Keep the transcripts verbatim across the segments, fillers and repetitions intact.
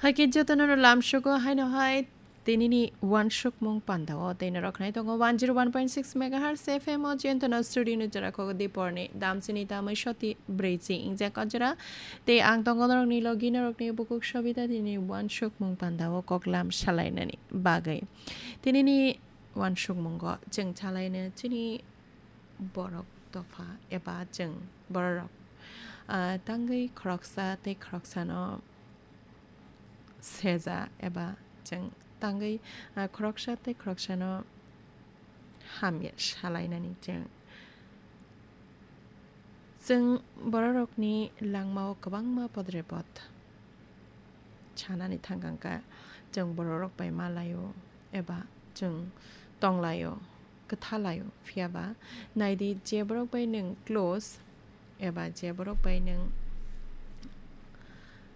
Hakhe jotono lamsugo haino hai tinini wansukmung pandao tei norok khnai tongo one zero one point six megahertz F M o Jentono studio ni jora kogo diporni damsini tamai soti brwichi ingjak o jora. Tei ang tongo norokni logi norokni bukuk sobita tini wansukmung pandao koklam salainani bagwi. Tinini wansukmungo chwng salaino chini borok dopha eba chwng bororok, ah, tangwi khoroksa tei khoroksano seja eba chwng tangwi, ah, khoroksa tei khoroksano hamya salainani chwng. Chwng bororokni langmao kwbangma podrepot sanani thangkangkha, chwng bororok bai malaio eba chwng tonglaio, kwthalaio. Phiyaba naidi, je borok bai nwng close eba je borok bai nwng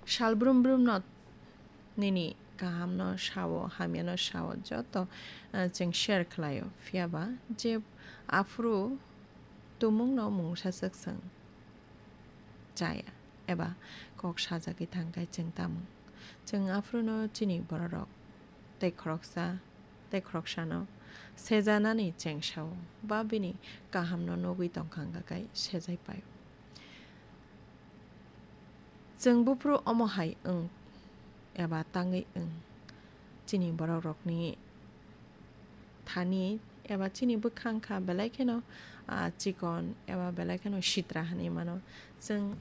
sal brum brumno nini kahamno sao, hamyano sao, joto, eh, chwng share khlaio. Phiyaba je aphuru tumungno mungsa swk swng chaya eba kok sajagwi thangkhe chwng tamung. Chwng aphuruno chini bororok tei khoroksa tei khoroksano sejanani chengsao ba bini kahamno nugwi tongkha hwnkha khe sejai paio. Chwng buphuru omo hai wng eba tangwi wng, chini borok rokni thani eba chini bwkhang kha belai kheno, ah, chikon eba belai kheno sitra hinwi mano. Chwng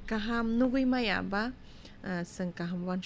kaham nugwi maya ba, ah, chwng kaham uan